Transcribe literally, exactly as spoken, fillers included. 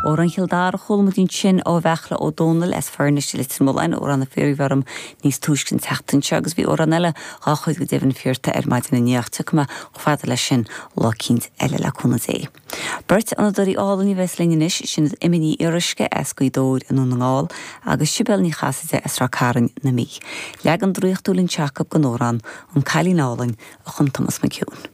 Amhrán Chill Dara chuala muid ansin ó Bheachla Ó Dónaill as Foirnis Leitir Mealláin amhrán a fiafraíodh orm níos túisce an tseachtain seo agus bhí amhrán eile dhá chuid go deimhin fiafraithe ar maidin inniu tiocfaidh mé chomh fada leis sin lá eicínt eile le cúnamh Dé. Beirt fhonnadóirí álainn a bheas linn anois sin Emma Ní Fhíoruisce as Gaoth Dobhair i nDún na nGall agus Sibéal Ní Chasaide as Ráth Cairn na Mí. Leagan draíochtúil anseo acu den amhrán an Cailín Álainn a chum Thomas McHugh.